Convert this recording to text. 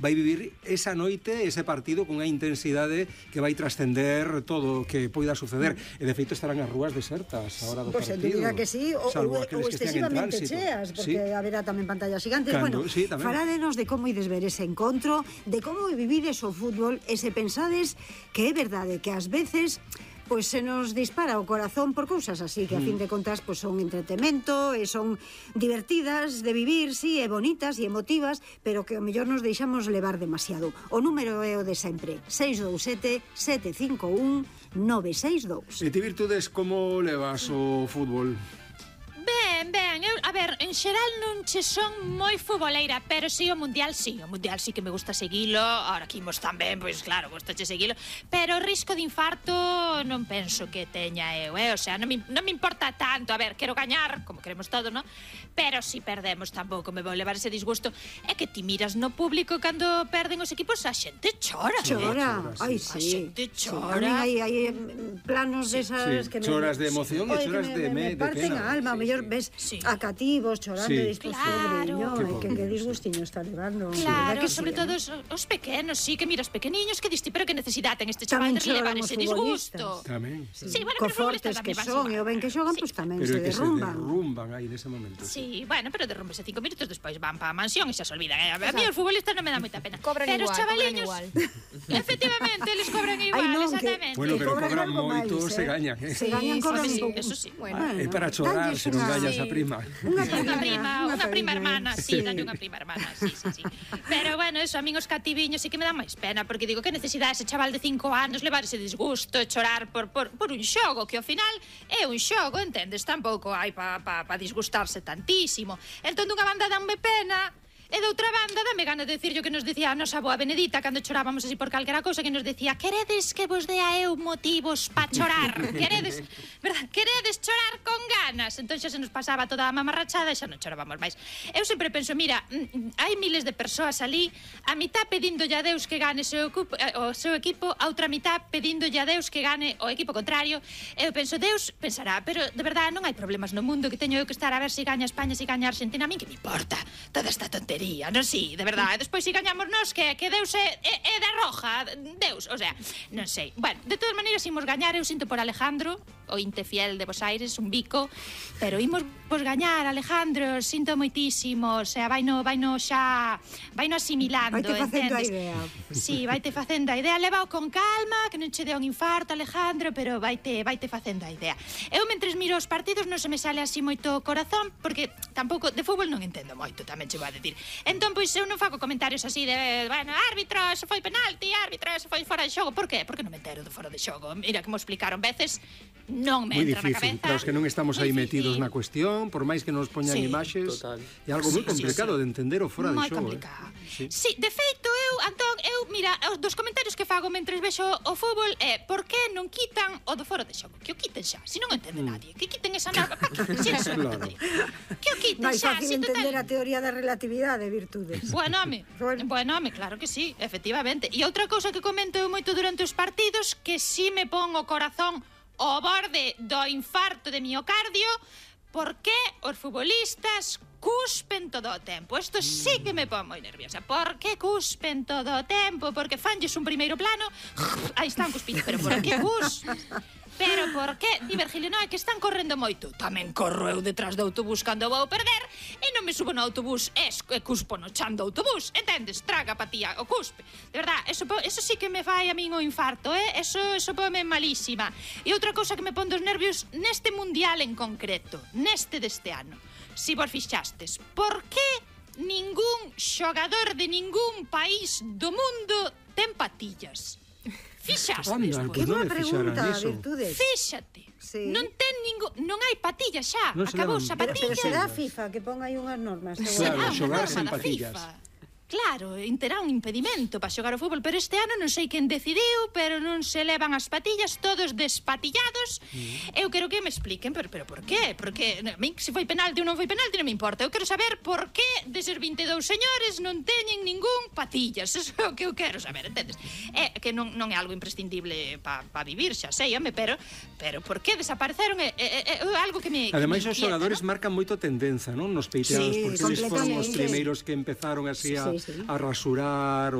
vai vivir esa noite, ese partido con unha intensidade que vai trascender todo o que poida suceder. E de feito estarán as rúas desertas a hora do partido. Pois diga que sí, ou excesivamente cheas, porque haberá tamén pantallas gigantes. Bueno, faládenos de como ides ver ese encontro, de como vivides o fútbol, e se pensades que é verdade que ás veces pois se nos dispara o corazón por cousas así que a fin de contas pois son entretemento e son divertidas de vivir, sí, e bonitas e emotivas, pero que ao mellor nos deixamos levar demasiado. O número é o de sempre, 627-751-962. E ti, Virtudes, como levas o fútbol? Ben, eu, a ver, en xeral non che son moi futboleira, pero si o Mundial sí que me gusta seguilo, ahora aquí imos tamén, pois claro, gustache seguilo, pero o risco de infarto non penso que teña eu, o sea, non me importa tanto, a ver, quero gañar, como queremos todo, non? Pero si perdemos tampouco me vou levar ese disgusto, é que ti miras no público cando perden os equipos, a xente chora. Ai, sí. A xente chora. Hai planos desas que choras de emoción e choras de me parten a alma, a mellor ves a cativos chorando e distos que disgustiño está levando. Claro, sobre todo os pequenos, sí, que miras pequeniños que diste, pero que necesidade ten este chaval de levar ese disgusto. Tamén, sí, bueno, co fortes que son e o ben que xogan, pois tamén se derrumban. Pero é que se derrumban aí nese momento. Sí, bueno, pero derrumbese 5 minutos despois van pa a mansión e xa se olvidan. A mí os futbolistas non me dá moita pena. Pero os chavaliños, efectivamente, eles cobran igual, exactamente. Bueno, pero cobran moito, se gañan. Se gañan, cobran un pouco. Eso sí. É para chorar, se non gañas a prima. Unha prima hermana, sí, dalle unha prima hermana, sí. Pero bueno, eso, a min os cativiños sí que me dá máis pena, porque digo, que necesidade ese chaval de 5 anos levar ese disgusto e chorar por un xogo, que ao final é un xogo, entendes? Tampouco hai pa disgustarse tantísimo. Entón, dunha banda danme pena, e de outra banda dame gana de decir yo que nos decía a nosa boa Benedita cando chorábamos así por calquera cousa, que nos decía: queredes que vos dea eu motivos pa chorar? Queredes, verdad? Queredes chorar con ganas? Entón xa se nos pasaba toda a mamarrachada e xa non chorábamos máis. Eu sempre penso, mira, hai miles de persoas ali, a mitad pedíndolle a Deus que gane o seu equipo, a outra mitad pedíndolle a Deus que gane o equipo contrario. Eu penso, Deus pensará, pero de verdade non hai problemas no mundo, que teño eu que estar a ver se gaña España, se gaña Argentina, a min que me importa toda esta tontería. Non, sí, de verdade. Despois si gañamos nós, que Deus é da roja, Deus, o sea, non sei. Bueno, de todas maneiras, imos gañar, eu sinto por Alejandro, o inte fiel de Bos Aires, un bico, pero imos vos gañar, Alejandro, sinto moitísimo, o sea, vaino asimilando, entendes? Vaite facendo a idea. Sí, vaite facendo a idea, levao con calma, que non che dea un infarto, Alejandro, pero vaite facendo a idea. Eu, mentres miro os partidos, non se me sale así moito corazón, porque tampouco, de fútbol non entendo moito, tamén che vou a decir. Entón, pois, eu non fago comentarios así de, bueno, árbitro, eso foi penalti, árbitro, eso foi fora de xogo. Por qué? Porque non me entero de fora de xogo. Mira que mo explicaron veces, non me entra na cabeza. Para os que non estamos aí metidos na cuestión, por máis que nos poñan imaxes, é algo moi complicado de entender o fora de xogo. Moi complicado. Sí, de feito, Antón, mira, dos comentarios que fago mentres vexo o fútbol é: por que non quitan o do fora de xogo? Que o quiten xa, se non entende nadie. Que quiten esa norma, pa que quiten xa. Que o quiten xa. Non é fácil entender a teoría da relatividade, Virtudes. Bueno, home, claro que sí, efectivamente. E outra cousa que comento eu moito durante os partidos, que si me pon o corazón ao borde do infarto de miocardio, porque os futbolistas cuspen todo o tempo. Isto sí que me pon moi nerviosa. Por que cuspen todo o tempo? Porque fanlles un primeiro plano, aí están cuspindo, pero por que cuspen? Pero por que? Di Virgilio, non, é que están correndo moito. Tamén corro eu detrás do autobús cando vou perder e non me subo no autobús e cuspo no chan do autobús. Entendes? Traga patía o cuspe. De verdad, eso sí que me fai a min o infarto, Eso pome malísima. E outra cousa que me pon dos nervios neste mundial en concreto, neste deste ano. Si vos fixastes, por que ningún xogador de ningún país do mundo ten patillas? Fixastes, que boa pregunta, Virtudes. Fíxate, non ten non hai patillas xa, acabouse a patilla. Pero será a FIFA que pon aí unhas normas. Claro, xogar sen patillas. Claro, terá un impedimento para xogar o fútbol, pero este ano non sei quen decidiu, pero non se levan as patillas, todos despatillados. Eu quero que me expliquen, pero por qué? Porque a min, se foi penalti ou non foi penalti, non me importa. Eu quero saber por que deses 22 señores non teñen ningún patillas. Eso é o que eu quero saber, entendes? É que non é algo imprescindible para vivir, xa sei, home, pero por que desapareceron é algo que me... Ademais, os xogadores marcan moito tendenza, non? Nos peiteados, porque eles foron os primeiros que empezaron así a a rasurar